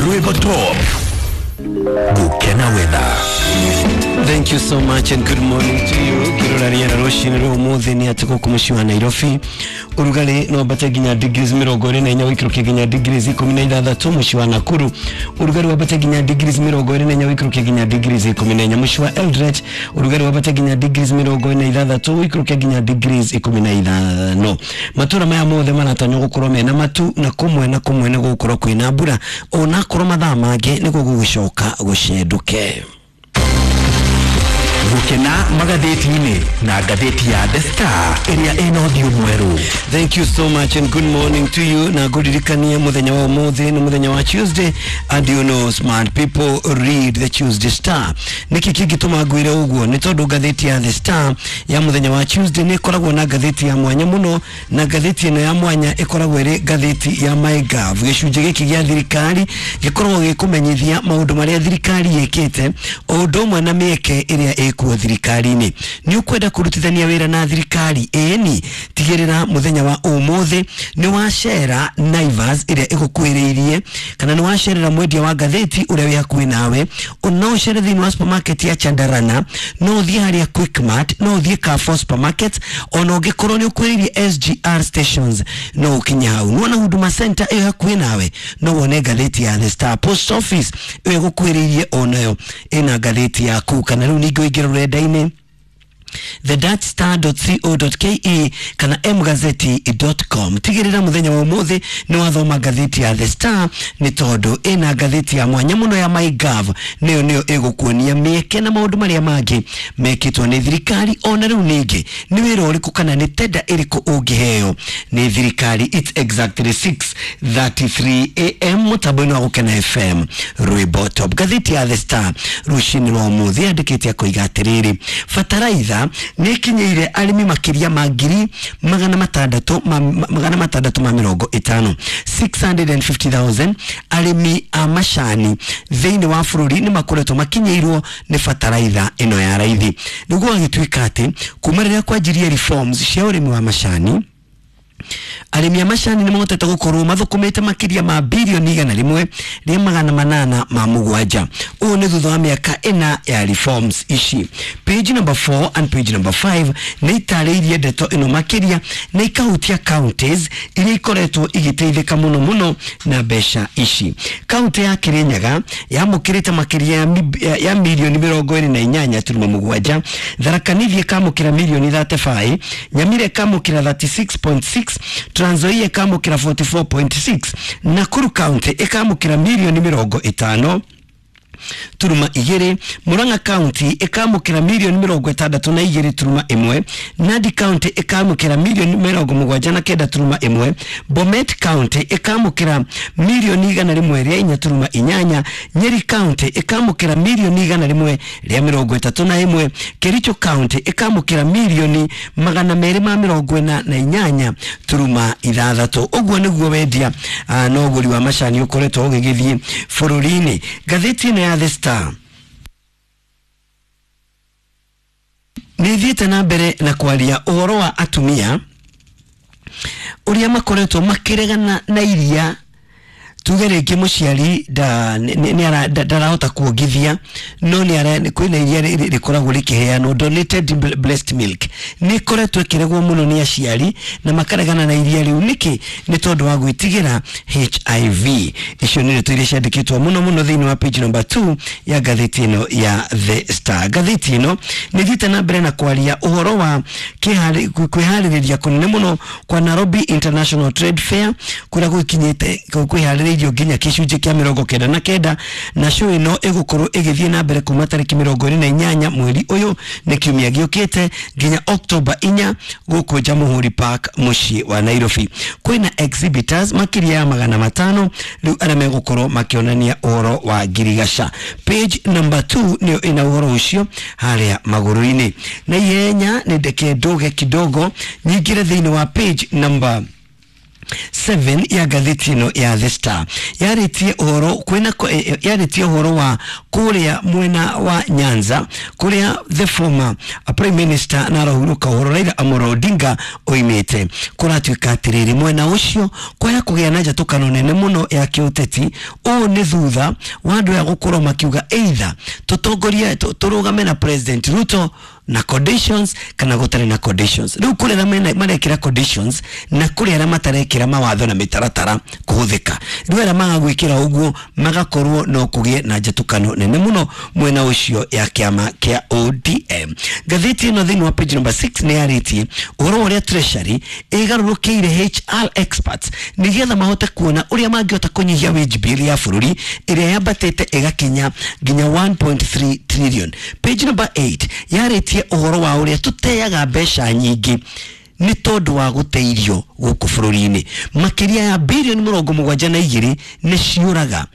Rwĩmbo Top. Gukena weather. Thank you so much and good morning to you. Ngirora rĩera rũcinĩ rwa ũmũthĩ nĩ atĩ gũkũ mũciĩ wa Nairobi ũrugarĩ no wambate nginya degrees 24, ũikũrũke nginya degrees 16. Mũciĩ wa Nakuru ũrugarĩ wambate nginya degrees 24, ũikũrũke nginya degrees 14. Mũciĩ wa Eldoret ũrugarĩ wambate nginya degrees 46, ũikũrũke nginya degrees 15. Matũra maya mothe maratanywo gũkorwo mena matu na kũmwe na kũmwe nĩ gũgũkorwo kwĩna mbura, onakorwo mathaa mangĩ nĩguo gũgĩcoka gũcenduke. Gukena magathĩti-inĩ na ngathĩti ya The Star ĩrĩa ĩna ũthiũ mwerũ. Thank you so much and good morning to you. Na ngũririkanie mũthenya wa ũmũthĩ nĩ mũthenya wa Tuesday, and you know smart people read the Tuesday Star. Nĩkĩ kĩngĩtũma ngwĩre ũguo? Nĩ tondũ ngathĩti ya The Star ya mũthenya wa Tuesday nĩ ĩkoragwo na ngathĩti ya mwanya mũno, na ngathĩti ĩno ya mwanya ĩkoragwo ĩrĩ ngathĩti ya MyGov. Gĩcunjĩ gĩkĩ gĩa thirikari gĩkoragwo gĩkũmenyithia maũndũ marĩa thirikari ĩkĩte, o ũndũ ũmwe na mĩeke ĩrĩa ĩkuo thirikari-inĩ. Nĩ ũkwenda kũrutithania wĩra na thirikari? Ĩni, tigĩrĩra mũthenya wa ũmũthĩ nĩ wacera Naivas ĩrĩa ĩgũkuhĩrĩirie, kana nĩ wacerera mwendia wa ngathĩti ũrĩa wĩ hakuhĩ nawe. No ũcere thĩinĩ wa supermarket ya Chandarana, no ũthiĩ harĩa Quickmart, no ũthiĩ Carrefour supermarket, ona ũngĩkorwo nĩ ũkuhĩrĩirie SGR stations no ũkinye hau. Nĩwona Huduma Center ĩyo hakuhĩ nawe, no wone ngathĩti ya The Star. Post Office ĩyo ĩgũkuhĩrĩirie onayo ĩna ngathĩti yaku, kana rĩu ningĩ ũingĩre rũrenda-inĩ the-star.co.ke kana mgazeti.com. Tigĩrĩra mũthenya wa ũmũthĩ nĩ wathoma ngathĩti ya The Star, nĩ tondũ ĩna ngathĩti ya mwanya mũno ya MyGov, nĩyo nĩyo ĩgũkuonia mĩeke na maũndũ marĩa mangĩ mekĩtwo nĩ thirikari, ona rĩu ningĩ nĩ wĩra ũrĩkũ kana nĩ tenda ĩrĩkũ ũngĩheo nĩ thirikari. It's exactly 6:33 am mũtambo-inĩ wa Gũkena FM, Rwĩmbo Top. Ngathĩti ya The Star rũcinĩ rwa ũmũthĩ yandĩkĩte akoiga atĩrĩrĩ, bataraitha nĩ ĩkinyĩire arĩmi makĩria ma ngiri magana matandatũ ma 650, 650,000 arĩmi a macani thĩinĩ wa bũrũri nĩ makoretwo makinyĩirwo nĩ bataraitha ĩno ya raithi. Nĩguo gũgĩtuĩka atĩ kuma rĩrĩa kwanjirie reforms cia ũrĩmi wa macani, arĩmi a macani nĩ mahotete gũkorwo mathũkũmĩte makĩria ma birioni 10807. Ũũ nĩ thutha wa mĩaka 4 ya reforms ici. Page number 4 and page number 5 nĩ itarĩirie ndeto ĩno makĩria na ikahutia counties iria ikoretwo igĩteithĩka mũno mũno na mbeca ici. Kaunti ya Kirinyaga yamũkĩrĩte makĩria ya mirioni 28.7, Tharaka Nithi ĩkamũkĩra mirioni 35, Nyamira ĩkamũkĩra 36.6, Trans Nzoia ĩkamũkĩra 44.6, Nakuru County ĩkamũkĩra mirioni 50.2, Murang'a County ĩkamũkĩra mirioni 62.1, Nandi County ĩkamũkĩra mirioni 79.1, Bomet County ĩkamũkĩra mirioni 104.8, Nyeri County ĩkamũkĩra mirioni 131, Kericho County ĩkamũkĩra mirioni 248.6. Ũguo nĩguo wendia na ũgũri wa macani ũkoretwo ũgĩgĩthiĩ bũrũri-inĩ. Ngathĩti ĩno ya The Star nĩ ĩthiĩte na mbere na kwaria ũhoro wa atumia ũrĩa makoretwo makĩregana na iria tuge rĩngĩ mũciari ndarahota kuongithia, no nĩ kwĩna iria rĩkoragwo rĩkĩheanwo donated breast milk, nĩ ĩkoretwo ĩkĩregwo mũno nĩ aciari na makaregana na iria rĩu. Nĩkĩ? Nĩ tondũ wa gwĩtigĩra HIV. Icio nĩ ndeto iria ciandĩkĩtwo mũno mũno thĩinĩ wa page number 2 ya ngathĩti ĩno ya The Star. Ngathĩti ĩno nĩ ĩthiĩte na mbere na kwaria ũhoro wa kwĩharĩrĩria kũnene mũno kwa Nairobi International Trade Fair, kũrĩa gũkinyĩte kwĩharĩrĩirio nginya gĩcunjĩ kĩa 99, na show ĩno ĩgũkorwo ĩgĩthiĩ na mbere kuma tarĩki 28 mweri ũyũ, nĩ kiumia gĩũkĩte, nginya October 4 gũkũ Jamhuri Park mũciĩ wa Nairobi. Kwĩna exhibitors makĩria ya 500 rĩu arĩa megũkorwo makĩonania ũhoro wa ngirigaca. Page number 2 nĩyo ĩna ũhoro ũcio harĩa magũrũ-inĩ. Na ihenya nĩ ndeke ndũge kidogo nyingĩre thĩinĩ wa page number 7 ya ngathĩti ĩno ya The Star yarĩtie ũhoro kwĩna yarĩtie ũhoro wa kũrĩa mwena wa Nyanza kũrĩa the former prime minister na arahurũka ũhoro Raila Amolo Odinga oimĩte. Kũratuĩka atĩrĩrĩ, mwena ũcio kwaya kũgĩa na njatũkano nene mũno ya kĩũteti. Ũũ nĩ thutha wa andũ aya gũkorwo makiuga either tũtongorie tũrũgame na President Ruto na conditions kana gũtarĩ na conditions. Rĩu kũrĩ arĩa marekĩra conditions na kũrĩ arĩa matarekĩra mawatho na mĩtaratara kũhũthĩka. Rĩu arĩa maga gwĩkĩra ũguo magakorwo no kũgĩe na njatũkano nene mũno mwena ũcio ya kĩama kĩa ODM. Ngathĩti ĩno thĩinĩ wa page number 6 nĩ yarĩtie ũhoro wa ũrĩa Treasury ĩgarũrũkĩire HR experts nĩgetha mahote kuona ũrĩa mangĩhota kũnyihia wage bill ya bũrũri ĩrĩa yambatĩte ĩgakinya nginya 1.3 trillion. Page number 8 yarĩtie ũhoro wa ũrĩa tũteaga mbeca nyingĩ nĩ tondũ wa gũte irio gũkũ bũrũri-inĩ. Makĩria ya bilioni 72 nĩ ciũraga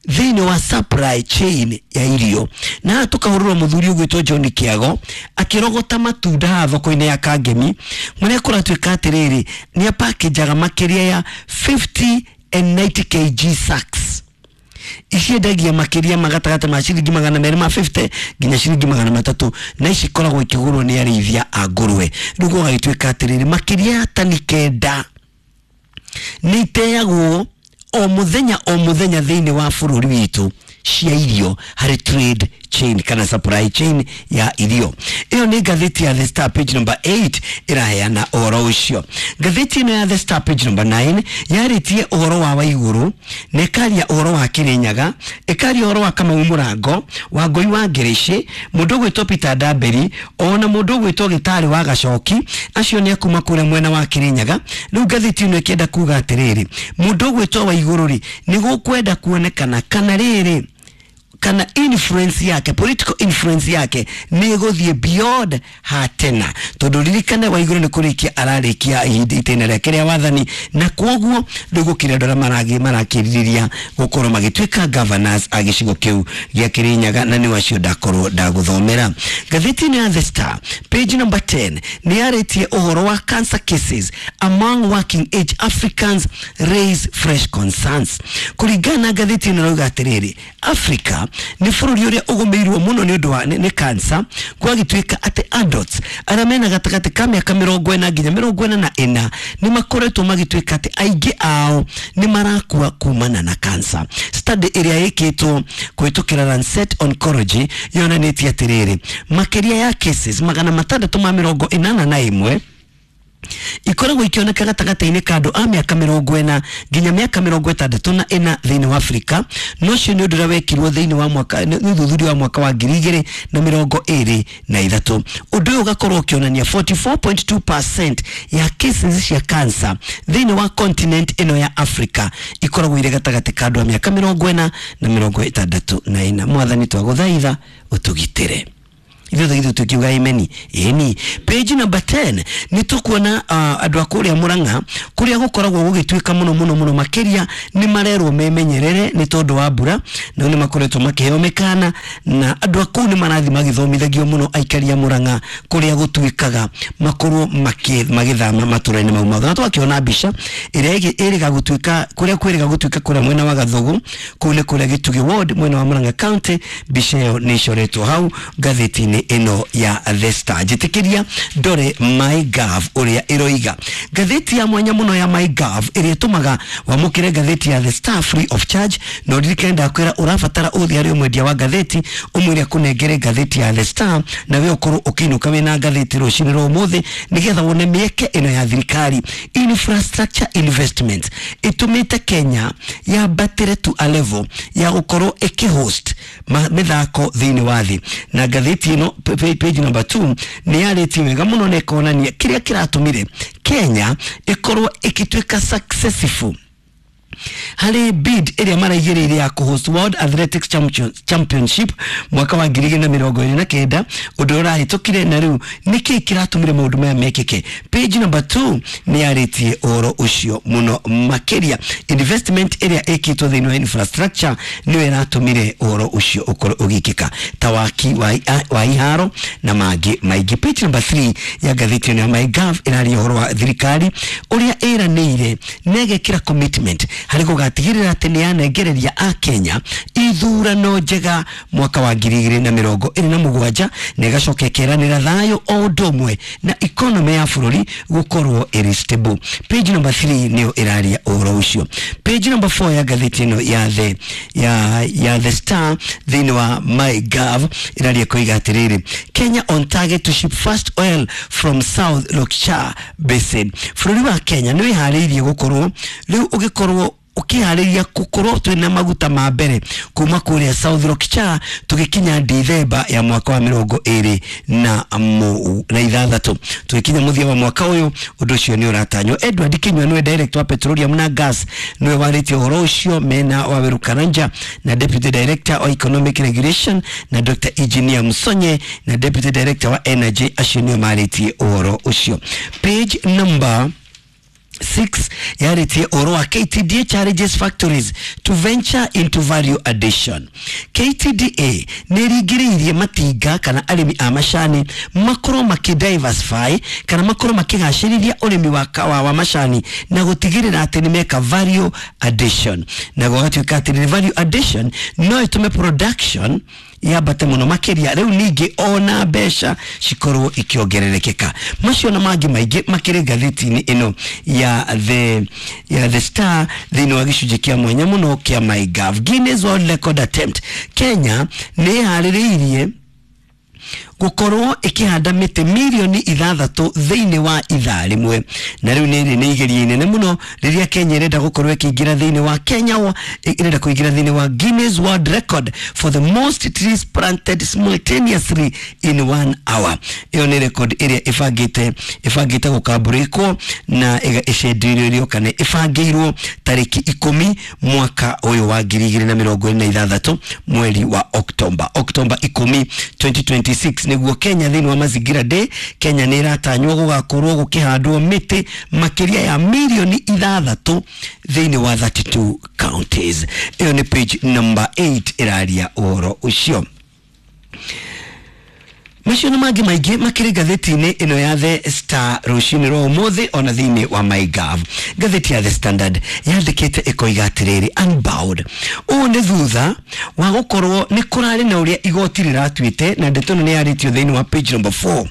thĩinĩ wa supply chain ya irio. Na haha tũkahũrĩrwo mũthuri ũgwĩtwo John Kĩago akĩrogota matunda haha thoko-inĩ ya Kangemi, marĩa kũratuĩka atĩrĩrĩ nĩ apakenjaga makĩria ya 50 and 90 kg sacks iciendagia makĩria ma gatagatĩ ma ciringi 250 nginya ciringi 300, na ici ikoragwo ikĩgũrwo nĩ arĩithia a ngũrwe. Rĩu gũgagĩtuĩka atĩrĩrĩ makĩria ya tani 9 nĩ iteagwo o mũthenya o mũthenya thĩinĩ wa bũrũri witũ cia irio harĩ trade chain kana supply chain ya irio. Ĩyo nĩ ngathĩti ya The Star page number 8 ĩraheana ũhoro ũcio. Ngathĩti ĩno ya The Star page number 9 yarĩtie ũhoro wa Waigũrũ na ĩkaria ũhoro wa Kĩrĩnyaga, ĩkaria ũhoro wa Kamau Mũrango, Wangũi wa Ngĩrĩcĩ, mũndũ ũgwĩtwo Peter Ndamberi, ona mũndũ ũgwĩtwo Gĩtarĩ wa Gacoki, acio nĩ akuma kũrĩa mwena wa Kĩrĩnyaga. Rĩu ngathĩti ĩno ĩkĩenda kuga atĩrĩrĩ, mũndũ ũgwĩtwo Waigũrũ rĩ, nĩ gũkwenda kuonekana kana rĩrĩ kana influence yake, political influence yake nĩ ĩgũthiĩ beyond hatena, tondũ ririkane Waigũrũ nĩ kũrĩkia ararĩkia ihinda itĩna rĩake rĩa wathani, na kwoguo rĩu gũkĩrĩ andũ arĩa marakĩrirĩria gũkorwo magĩtuĩka governors a gĩcigo kĩu gĩa Kĩrĩnyaga, na nĩ acio ndakorwo ndagũthomera. Ngathĩti ĩno ya The Star page number 10 nĩ yarĩtie ũhoro wa cancer cases among working age Africans raise fresh concerns. Kũringana na ngathĩti ĩno ĩrauga atĩrĩrĩ, Africa nĩ bũrũri ũrĩa ũgũmĩirwo mũno nĩ ũndũ wa nĩ cancer, gwagĩtuĩka atĩ adults arĩa mena gatagatĩ ka mĩaka 40 nginya 44 nĩ makoretwo magĩtuĩka atĩ aingĩ ao nĩ marakua kumana na cancer. Study ĩrĩa ĩkĩtwo kũhĩtũkĩra Lancet Oncology yonanĩtie atĩrĩrĩ, makĩria ya cases 681 ikoragwo ikioneka gatagatĩ-inĩ ka andũ a mĩaka 40 nginya mĩaka 64 thĩinĩ wa Afrika. No ũcio nĩ ũndũ ũrĩa wekirwo thĩinĩ wa mwaka nĩ ũthuthuria wa mwaka wa 2023. Ũndũ ũyũ ũgakorwo ũkĩonania 44.2% ya cases cia cancer thĩinĩ wa continent ĩno ya Afrika ikoragwo irĩ gatagatĩ ka andũ a mĩaka 40 na 64. Mwathani twagũthaitha ũtũgitĩre. Ithuĩ ithuĩ tukiuga imeni ĩni. Page number 10 nĩ tũkuona andũ a kũrĩa Mũrang'a kũrĩa gũkoragwo gũgĩtuĩka mũno mũno mũno makĩria nĩ marerwo memenyerere nĩ tondũ wa mbura, na nĩ makoretwo makĩheo mĩkana, na andũ a kũu nĩ marathiĩ magĩthomithagio mũno aikari a Mũrang'a kũrĩa gũtuĩkaga makorwo magĩthama matũra-inĩ mau mothe. Na twakĩona mbica ĩrĩa ĩrĩga gũtuĩka kũrĩa kwĩrĩga gũtuĩka kũrĩa mwena wa Gathugu, kũu nĩ kũrĩa Gĩtugĩ ward mwena wa Mũrang'a County. Mbica ĩyo nĩ ĩcoretwo hau ngathĩti-inĩ ĩno ya The Star. Njĩtĩkĩria ndore MyGov ũrĩa ĩroiga. Ngathĩti ya mwanya mũno ya MyGov ĩrĩa ĩtũmaga wamũkĩre ngathĩti ya The Star free of charge. Na ũririkane ndakwĩra ũrabatara ũthiĩ harĩ mwendia wa ngathĩti ũmwĩre akũnengere ngathĩti ya The Star, na we ũkorwo ũkĩinũka wĩna ngathĩti rũcinĩ rwa ũmũthĩ nĩgetha wone mĩeke ĩno ya thirikari. Infrastructure investment ĩtũmĩte Kenya yambatĩre to a level ya gũkorwo ĩkĩhost mĩthako thĩinĩ wa thĩ. Na ngathĩti ĩno page number 2 nĩ yarĩtie wega mũno na ĩkonania kĩrĩa kĩratũmire Kenya ĩkorwo ĩgĩtuĩka successful Harĩ bid ĩrĩa maraigĩrĩire ya kũhost World Athletics Championship mwaka wa 2029, ũndũ ũrahĩtũkire, na rĩu nĩkĩĩ kĩratũmire maũndũ maya mekĩke? Page number 2 nĩ yarĩtie ũhoro ũcio mũno makĩria. Investment ĩrĩa ĩkĩtwo thĩinĩ wa infrastructure nĩyo ĩratũmire ũhoro ũcio ũkorwo ũgĩkĩka, ta waki wa iharo na mangĩ maingĩ. Page number 3 ya ngathĩti ĩno ya MyGov ĩraria ũhoro wa thirikari ũrĩa ĩranĩire na ĩgekĩra commitment harĩ gũgatigĩrĩra atĩ nĩ yanengereria a Kenya ithurano njega mwaka wa 2027, na ĩgacoka ĩkeranĩra thayũ o ũndũ ũmwe na economy ya bũrũri gũkorwo ĩrĩ stable. Page number 3 nĩyo ĩraria ũhoro ũcio. Page number 4 ya ngathĩti ĩno ya The Star thĩinĩ wa MyGov ĩraria koiga atĩrĩrĩ, "Kenya on target to ship first oil from South Lokichar Basin." Bũrũri wa Kenya nĩ wĩharĩirie gũkorwo rĩu ũgĩkorwo ũkĩharĩria gũkorwo twĩna maguta ma mbere kuma kũrĩa South Lokichar tũgĩkinya Dithemba ya mwaka wa 2026. Tũgĩkinya mũthia wa mwaka ũyũ, ũndũ ũcio nĩ ũratanywo. Edward Kinyua nĩwe director wa petroleum na gas, nĩwe warĩtie ũhoro ũcio mena Waweru Karanja na deputy director wa economic regulation na Dr. Engineer Musonye na deputy director wa energy. Acio nĩo marĩtie ũhoro ũcio. Page number 6 yarĩtie ũhoro wa "KTDA challenges factories to venture into value addition". KTDA nĩ ĩringĩrĩirie matinga kana arĩmi a macani makorwo makĩ-diversify kana makorwo makĩgacĩrithia ũrĩmi wa macani na gũtigĩrĩra atĩ nĩ meka value addition, na gũgatuĩka atĩ value addition no ĩtũme production yambate mũno makĩria, rĩu ningĩ ona mbeca cikorwo ikĩongererekeka. Macio na mangĩ maingĩ makĩrĩ ngathĩti-inĩ ĩno ya The Star thĩinĩ wa gĩcunjĩ kĩa mwanya mũno kĩa MyGov. Guinness World Record attempt: Kenya nĩ ĩharĩrĩirie gũkorwo ĩkĩhanda mĩtĩ mirioni 6 thĩinĩ wa ithaa rĩmwe, na rĩu nĩ nĩ igeria inene mũno rĩrĩa Kenya ĩrenda gũkorwo ĩkĩingĩra thĩinĩ wa Kenya ĩrenda kũingĩra thĩinĩ wa Guinness World Record for the most trees planted simultaneously in one hour. Ĩyo nĩ record ĩrĩa ĩbangĩte gũkambũrĩkwo na ĩcenderio kana ĩbangĩirwo tarĩki 10 mwaka ũyũ wa 2026, mweri wa Oktomba, Oktomba 10 2026, nĩguo Kenya thĩinĩ wa Mazingira Day. Kenya nĩ ĩratanywo gũgakorwo gũkĩhandwo mĩtĩ makĩria ya mirioni 6 thĩinĩ wa 32 counties. Ĩyo nĩ page number 8 ĩraria ũhoro ũcio. Macio na mangĩ maingĩ makĩrĩ ngathĩti-inĩ ĩno ya The Star rũcinĩ rwa ũmũthĩ, ona thĩinĩ wa MyGov. Ngathĩti ya The Standard yandĩkĩte ĩkoiga atĩrĩrĩ, "Unbowed". Ũũ nĩ thutha wa gũkorwo nĩ kũrarĩ na ũrĩa igoti rĩratuĩte, na ndeto ĩno nĩ yarĩtio thĩinĩ wa page number 4.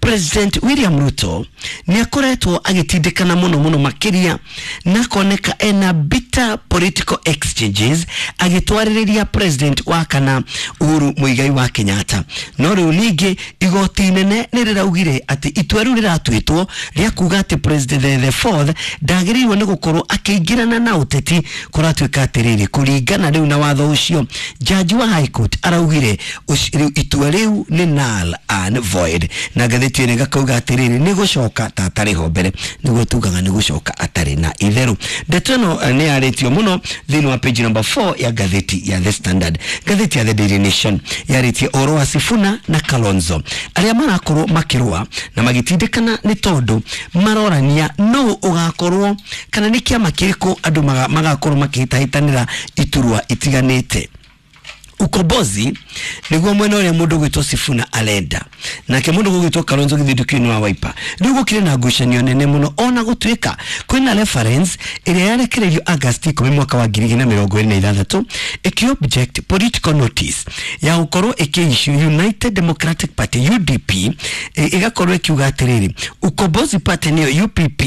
President William Ruto nĩ akoretwo agĩtindĩkana mũno mũno makĩria na akoneka ena bitter political exchanges agĩtwarĩrĩria president wa kana Uhuru Muigai wa Kenyatta. No rĩu ningĩ igoti inene nĩ rĩraugire atĩ itua rĩu rĩratuĩtwo rĩa kuga atĩ president the fourth ndagĩrĩirwo nĩ gũkorwo akĩingĩrana na ũteti, kũratuĩka atĩrĩrĩ, kũringana rĩu na watho ũcio, jaji wa high court araugire rĩu itua rĩu nĩ null and void, na ngathĩti ĩno ĩgakauga atĩrĩrĩ, nĩ gũcoka ta atarĩ ho mbere, nĩguo tugaga nĩ gũcoka atarĩ na itherũ. Ndeto ĩno nĩ yarĩtio mũno thĩinĩ wa page number 4 ya ngathĩti ya The Standard. Ngathĩti ya The Daily Nation yarĩtie ũhoro wa Sifuna na Kalonzo arĩa marakorwo makĩrũa na magĩtindĩkana nĩ tondũ marorania no ũgakorwo kana nĩ kĩama kĩrĩkũ andũ magakorwo makĩhĩtahĩtanĩra iturwa itiganĩte. Ukombozi nĩguo mwena ũrĩa mũndũ gwĩtwo Sifuna arenda, nake mũndũ gũgwĩtwo Kalonzo gĩthindũkio wa Wiper. Rĩu gũkĩrĩ na ngucanio nene mũno, ona gũtuĩka kwĩna reference ĩrĩa yarekereirio August 10 mwaka wa 2026 ĩkĩ object political notice ya gũkorwo ĩkĩ-issue United Democratic Party, UDP, ĩgakorwo ĩkiuga atĩrĩrĩ, Ukombozi Party nĩyo UPP.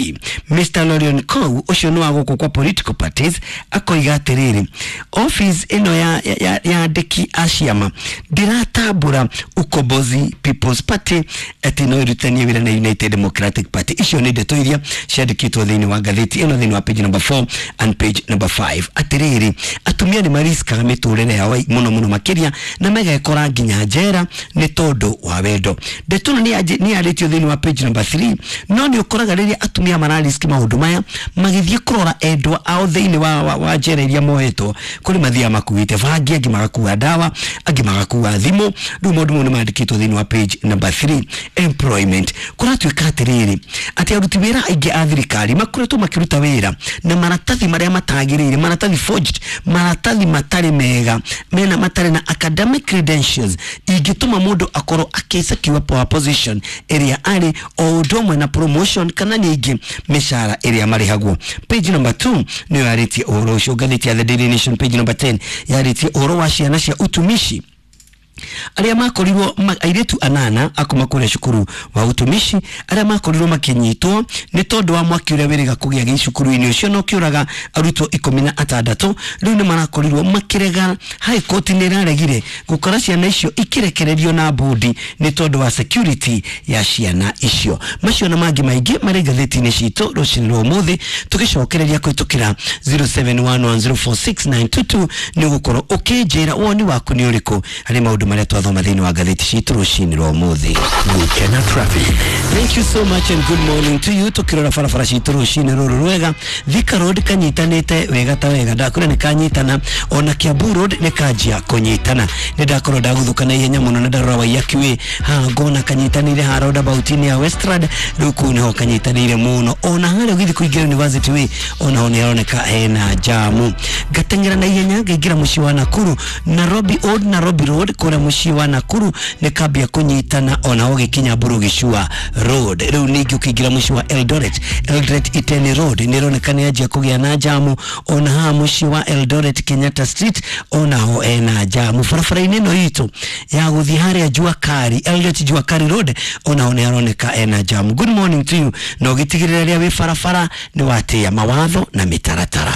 Mr Lorion Kou ũcio nĩ wa gũkũ kwa political parties akoiga atĩrĩrĩ, office ĩno ya yandĩkĩtwo. Andĩki a ciama ndiratambũra Ukombozi People's Party atĩ no ĩrutithanie wĩra na United Democratic Party. Icio nĩ ndeto iria ciandĩkĩtwo thĩinĩ wa ngathĩti ĩno thĩinĩ wa page number 4 and page number 5. Atĩrĩrĩ, atumia nĩ mariskaga mĩtũrĩre yao mũno mũno makĩria na megekora nginya njera nĩ tondũ wa wendo. Ndeto ĩno nĩ yarĩtio thĩinĩ wa page number 3. No nĩ ũkoraga rĩrĩa atumia marariski maũndũ maya magĩthiĩ kũrora endwa ao thĩinĩ wa njera iria mohetwo, kũrĩ mathiaga makuĩte bangi, angĩ magakua ndawa, angĩ magakua thimũ. Rĩu maũndũ mau nĩ mandĩkĩtwo thĩinĩ wa page number 3. Employment, kũratuĩka atĩrĩrĩ atĩ aruti wĩra aingĩ a thirikari makoretwo makĩruta wĩra na maratathi marĩa matagĩrĩire, maratathi forged, maratathi matarĩ mega, mena matarĩ na academic credentials ingĩtũma mũndũ akorwo akĩsecure power position ĩrĩa arĩ, o ũndũ ũmwe na promotion kana ningĩ mĩcara ĩrĩa marĩhagwo. Page number 2 nĩyo yarĩtie ũhoro ũcio. Ngathĩti ya The Daily Nation page number 10 yarĩtie ũhoro wa ciana cia utumishi arĩa makorirwo airĩtu anana akuma kũrĩa cukuru wa utumishi arĩa makorirwo makĩnyitwo nĩ tondũ wa mwaki ũrĩa wĩrĩga kũgĩa gĩcukuru-inĩ ũcio na ũkĩũraga arutwo 16. Rĩu nĩ marakorirwo makĩrega. High Court nĩ ĩraregire gũkora ciana icio ikirekererio na bodi nĩ tondũ wa security ya ciana icio. Macio na mangĩ maingĩ marĩ ngathĩti-inĩ citũ rũcinĩ rwa ũmũthĩ. Tũgĩcokereria kũhĩtũkĩra 0711046922 nĩ ũgũkorwo ũkĩnjĩra woni waku nĩ ũrĩkũ harĩ maũndũ marĩa twathoma thĩinĩ wa ngathĩti citũ rũcinĩ rwa ũmũthĩ. Gukena Traffic. Thank you so much and good morning to you. Tukirora barabara citũ rũcinĩ rũrũ rwega, Thika Road kanyitanĩte wega ta wega, ndakwĩra nĩ kanyitana, ona Kiambu Road nĩ kanjia kũnyitana. Nĩ ndakorwo ndagũthũka na ihenya mũno na ndarora Waiyaki Way haha ngona kanyitanĩire haha roundabout-inĩ ya Westland, rĩu kũu nĩho kanyitanĩire mũno. Ona harĩa ũgĩthiĩ kũingĩra University Way onaho nĩ haroneka hena jamu. Ngateng'era na ihenya ngaingĩra mũciĩ wa Nakuru, Nairobi Old Nairobi Road kũrĩa mũciĩ wa Nakuru nĩ kambia kũnyitana, onaho gĩkinya Mburu Gĩcua Road. Rĩu ningĩ ũkĩingĩra mũciĩ wa Eldoret, Eldoret Iten Road nĩ ĩroneka nĩ yanjia kũgĩa na jamu. Ona haha mũciĩ wa Eldoret Kenyatta Street onaho ena jamu. Barabara-inĩ ĩno itũ ya gũthiĩ harĩa Jua Kali, Eldoret Jua Kali Road onaho nĩ haroneka ena jamu. Good morning to you, na ũgĩtigĩrĩra rĩrĩa wĩ barabara nĩ watĩĩa mawatho na mĩtaratara.